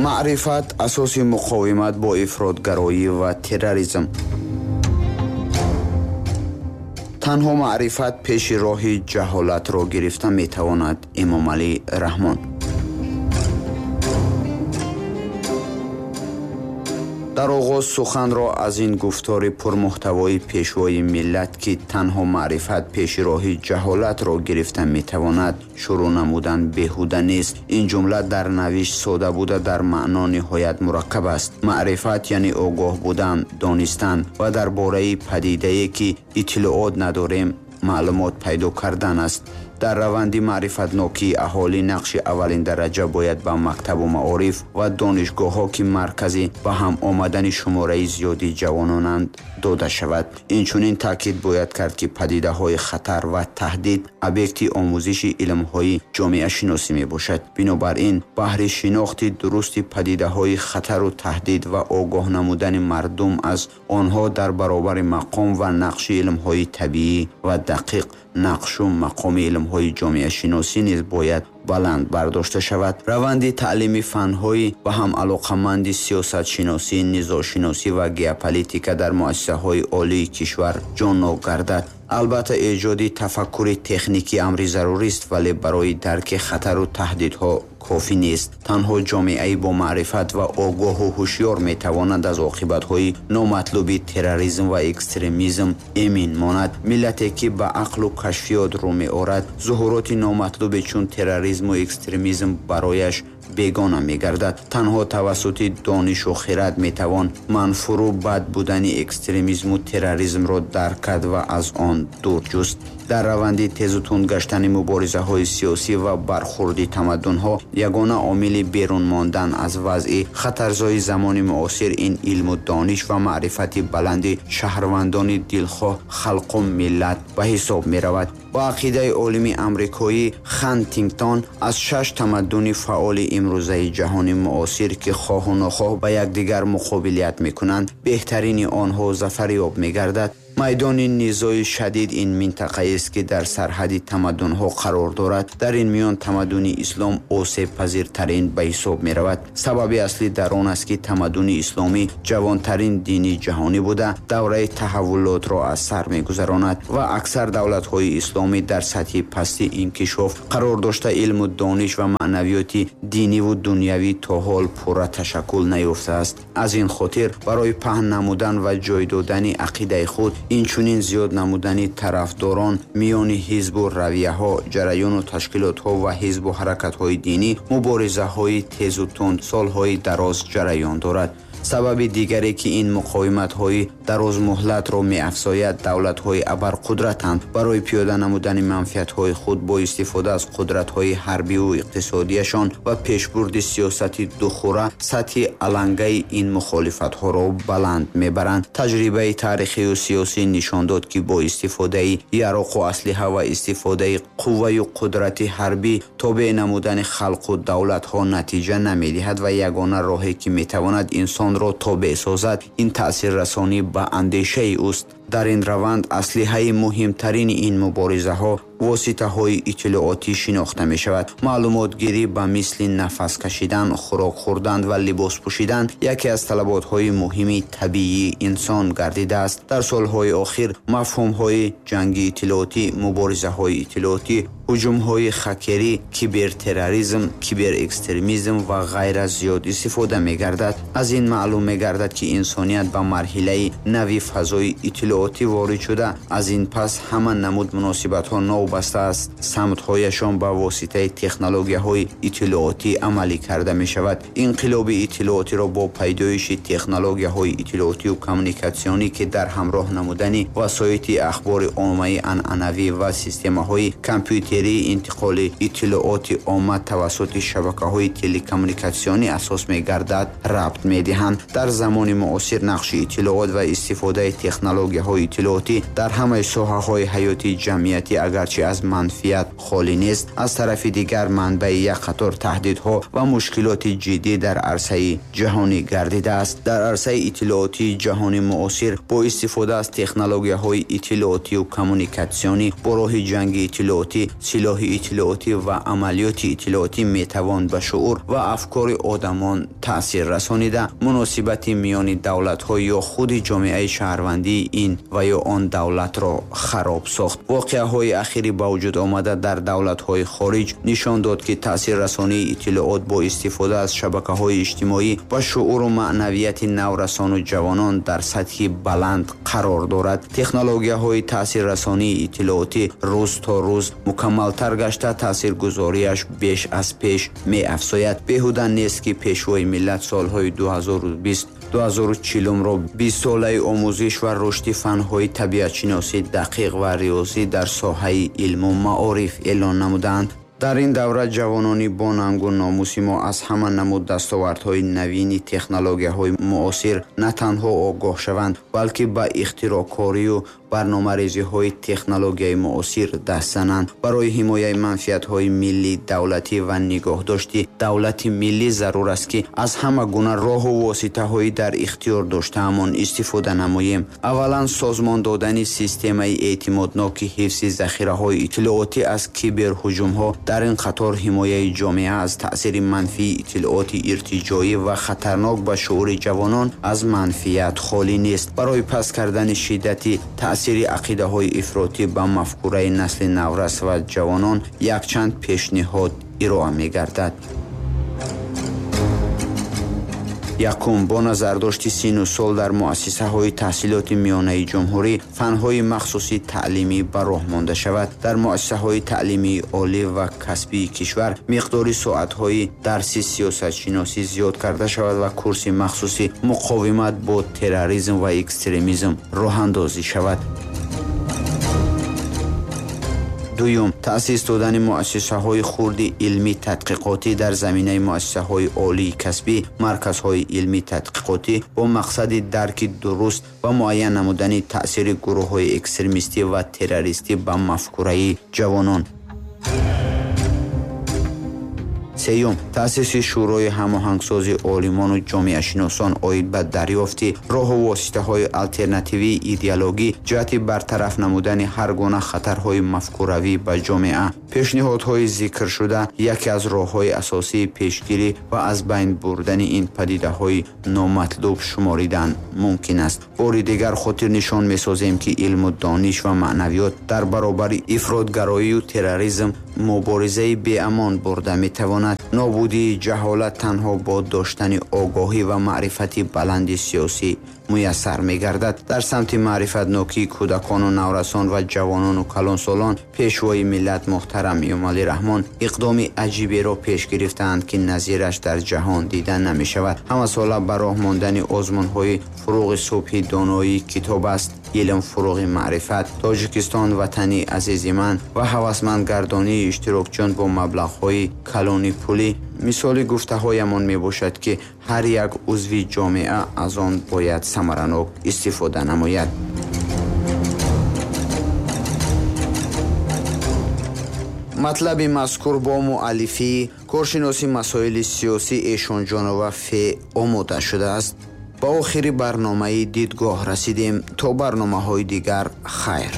Маърифат асоси муқовимат бо ифротгароӣ ва терроризм. Танҳо маърифат пеши роҳи ҷаҳолатро гирифта метавонад. Эмомалӣ Раҳмон. Дар оғоз суханро аз ин гуфтори пурмуҳтавои пешвои миллат, ки танҳо маърифат пеши роҳи ҷаҳолатро гирифта метавонад, шурӯъ намудан беҳуда нест. Ин ҷумла дар навишт сода буда, дар маъно ниҳоят мураккаб аст. Маърифат яъне огоҳ будан, донистан ва дар бораи падидае, ки иттилоот надорем, маълумот пайдо кардан аст. Дар раванди маърифатнокии аҳолӣ нақши аввалин дараҷа бояд ба мактабу маориф ва донишгоҳҳо, ки маркази ба ҳам омадани шумораи зиёди ҷавононанд, дода шавад. Инчунин таъкид бояд кард, ки падидаҳои хатар ва таҳдид объекти омӯзиши илмҳои ҷомеашиносӣ мебошад. Бинобар ин, баҳри шинохти дурусти падидаҳои хатару таҳдид ва огоҳ намудани мардум аз онҳо дар баробари мақом ва нақши илмҳои табиӣ ва дақиқ, нақшу мақоми илмҳои ҷомеашиносӣ низ бояд баланд бардошта шавад. Раванди таълими фанҳои ба ҳам алоқаманди сиёсатшиносӣ, низошиносӣ ва геополитика дар муассисаҳои олии кишвар ҷоннок гардад. Албатта, эҷоди тафаккури техникӣ амри зарурист, вале барои дарки хатару таҳдидҳо кофӣ нест. Танҳо ҷомеаи бо маърифат ва огоҳу ҳушёр метавонад аз оқибатҳои номатлуби терроризм ва экстремизм эмин монад. Миллате, ки ба ақлу кашфиёт рӯ меорад, зуҳуроти номатлубе чун терроризму экстремизм барояш бегона мегардад. Танҳо тавассути донишу хирад метавон манфуру бад будани экстремизму терроризмро дарк кард ва аз он дур ҷуст. Дар раванди тезу тунд гаштани муборизаҳои сиёсӣ ва бархурди тамаддунҳо, ягона омили берун мондан аз вазъи хатарзои замони муосир ин илму дониш ва маърифати баланди шаҳрвандони дилхоҳ халқу миллат ба ҳисоб меравад. Ба ақидаи олими амрикоӣ Хантингтон, аз 6 тамаддуни фаъоли имрӯзаи ҷаҳони муосир, ки хоҳу нохоҳ ба якдигар муқобилият мекунанд, беҳтарини онҳо зафарёб мегардад. Майдони низои шадид ин минтақаест, ки дар сарҳади тамаддунҳо қарор дорад. Дар ин миён тамаддуни ислом осебпазиртарин ба ҳисоб меравад. Сабаби аслӣ дар он аст, ки тамаддуни исломӣ ҷавонтарин дини ҷаҳонӣ буда, давраи таҳаввулотро аз сар мегузаронад ва аксар давлатҳои исломӣ дар сатҳи пасти инкишоф қарор дошта, илму дониш ва маънавиёти диниву дунявӣ то ҳол пурра ташаккул наёфтааст. Аз ин хотир барои паҳн намудан ва ҷой додани ақидаи худ, инчунин зиёд намудани тарафдорон миёни ҳизбу равияҳо, ҷараёну ташкилотҳо ва ҳизбу ҳаракатҳои динӣ, муборизаҳои тезу тунд солҳои дароз ҷараён дорад. Сабаби дигаре, ки ин муқовиматҳои дарозмуҳлатро меафзояд, давлатҳои абарқудратанд. Барои пиёда намудани манфиатҳои худ бо истифода аз қудратҳои ҳарбиву иқтисодияшон ва пешбурди сиёсати духура сатҳи алангаи ин мухолифатҳоро баланд мебаранд. Таҷрибаи таърихию сиёсӣ нишон дод, ки бо истифодаи яроқу аслиҳа ва истифодаи қувваю қудрати ҳарбӣ тобеъ намудани халқу давлатҳо натиҷа намедиҳад ва ягона роҳе, ки метавонад инсонро тобеъ созад, ин таъсиррасонӣ ба андешаи ӯст. Дар ин раванд аслиҳаи муҳимтарини ин муборизаҳо воситаҳои иттилоотӣ шинохта мешавад. Маълумотгирӣ ба мисли нафас кашидан, хӯрок хӯрдан ва либос пӯшидан яке аз талаботҳои муҳими табиии инсон гардидааст. Дар солҳои охир мафҳумҳои ҷанги иттилоотӣ, муборизаҳои иттилоотӣ, ҳуҷумҳои хакерӣ, кибертерроризм, киберэкстремизм ва ғайра зиёд истифода мегардад. Аз ин маълум мегардад, ки инсоният ба марҳилаи нави фазои иттилоотӣ ворид шуда, аз ин пас ҳама намуд муносибатҳо новобаста аз самтҳояшон ба воситаи технологияҳои иттилоотӣ амалӣ карда мешавад. Инқилоби иттилоотиро бо пайдоиши технологияҳои иттилоотию коммуникатсионӣ, ки дар ҳамроҳ намудани васоити ахбори оммаи анъанавӣ ва системаҳои компютерии интиқоли иттилооти омма тавассути шабакаҳои телекоммуникатсионӣ асос мегардад, рабт медиҳанд. Дар замони муосир нақши иттилоот ва истифодаи технологияҳои технологияҳои иттилоотӣ дар ҳамаи соҳаҳои ҳаёти ҷамъиятӣ агарчи аз манфиат холӣ нест, аз тарафи дигар манбаи як қатор таҳдидҳо ва мушкилоти ҷиддӣ дар арсаи ҷаҳонӣ гардидааст. Дар арсаи иттилоотии ҷаҳони муосир бо истифода аз технологияҳои иттилоотию коммуникатсионӣ бо роҳи ҷанги иттилоотӣ, силоҳи иттилоотӣ ва амалиёти иттилоотӣ метавон ба шуур ва афкори одамон таъсир расонида, муносибати миёни давлатҳо ё худи ҷомеаи шаҳрвандии ин ва ё он давлатро хароб сохт. Воқеаҳои ахири ба вуҷуд омада дар давлатҳои хориҷ нишон дод, ки таъсиррасонии иттилоот бо истифода аз шабакаҳои иҷтимоӣ ба шууру маънавияти наврасону ҷавонон дар сатҳи баланд қарор дорад. Технологияҳои таъсиррасонии иттилоотӣ рӯз то рӯз мукаммалтар гашта, таъсиргузориаш беш аз пеш меафзояд. Беҳуда нест, ки Пешвои миллат солҳои 2020 2040-ро 20-солаи омӯзиш ва рушди фанҳои табиатшиносӣ, дақиқ ва риёзӣ дар соҳаи илму маориф эълон намуданд. Дар ин давра ҷавонони бо нангу номуси мо аз ҳама намуд дастовардҳои навини технологияҳои муосир на танҳо огоҳ шаванд, балки ба ихтироъкорию барномарезиҳои технологияи муосир даст зананд. Барои ҳимояи манфиатҳои миллӣ, давлатӣ ва нигоҳдошти давлати миллӣ зарур аст, ки аз ҳама гуна роҳу воситаҳои дар ихтиёр доштаамон истифода намоем. Аввалан, созмон додани системаи эътимодноки ҳифзи захираҳои иттилоотӣ аз киберҳуҷумҳо, дар ин қатор ҳимояи ҷомеа аз таъсири манфии иттилооти иртиҷоӣ ва хатарнок ба шуури ҷавонон аз манфиат холӣ нест. Барои паст кардани шиддати таъсири ақидаҳои ифротӣ ба мафкураи насли наврас ва ҷавонон якчанд пешниҳод ироа мегардад. Якум, бо назардошти сину сол дар муассисаҳои таҳсилоти миёнаи ҷумҳурӣ фанҳои махсуси таълимӣ ба роҳ монда шавад. Дар муассисаҳои таълимии олӣ ва касбии кишвар миқдори соатҳои дарси сиёсатшиносӣ зиёд карда шавад ва курси махсуси муқовимат бо терроризм ва экстремизм роҳандозӣ шавад. Дуюм, таъсис додани муассисаҳои хурди илмӣ тадқиқотӣ дар заминаи муассисаҳои олии касбӣ, марказҳои илмӣ тадқиқотӣ бо мақсади дарки дуруст ва муайян намудани таъсири гурӯҳҳои экстремистӣ ва террористӣ ба мафкураи ҷавонон. Сеюм, таъсиси Шӯрои ҳамоҳангсози олимону ҷомеашиносон оид ба дарёфти роҳу воситаҳои алтернативии идеологӣ ҷиҳати бартараф намудани ҳар гуна хатарҳои мафкуравӣ ба ҷомеа. Пешниҳодҳои зикршуда яке аз роҳҳои асосии пешгирӣ ва аз байн бурдани ин падидаҳои номатлуб шуморидан мумкин аст. Бори дигар хотирнишон месозем, ки илму дониш ва маънавиёт дар баробари ифротгароию терроризм муборизаи беамон бурда метавонад. Нобудии ҷаҳолат танҳо бо доштани огоҳӣ ва маърифати баланди сиёсӣ муяссар мегардад. Дар самти маърифатнокии кӯдакону наврасон ва ҷавонону калонсолон Пешвои миллат муҳтарам Эмомалӣ Раҳмон иқдоми аҷиберо пеш гирифтаанд, ки назираш дар ҷаҳон дида намешавад. Ҳамасола ба роҳ мондани озмунҳои Фурӯғи субҳи доноӣ китоб аст, илм фурӯғи маърифат, Тоҷикистон ватани азизи ман ва ҳавасмандгардонии иштирокчиён бо маблағҳои калони пулӣ мисоли гуфтаҳоямон мебошад, ки ҳар як узви ҷомеа аз он бояд самаранок истифода намояд. Матлаби мазкур бо муаллифии коршиноси масоили сиёсӣ Эшонҷонова Ф. омода шудааст. Ба охири барномаи дидгоҳ расидем. То барномаҳои дигар хайр.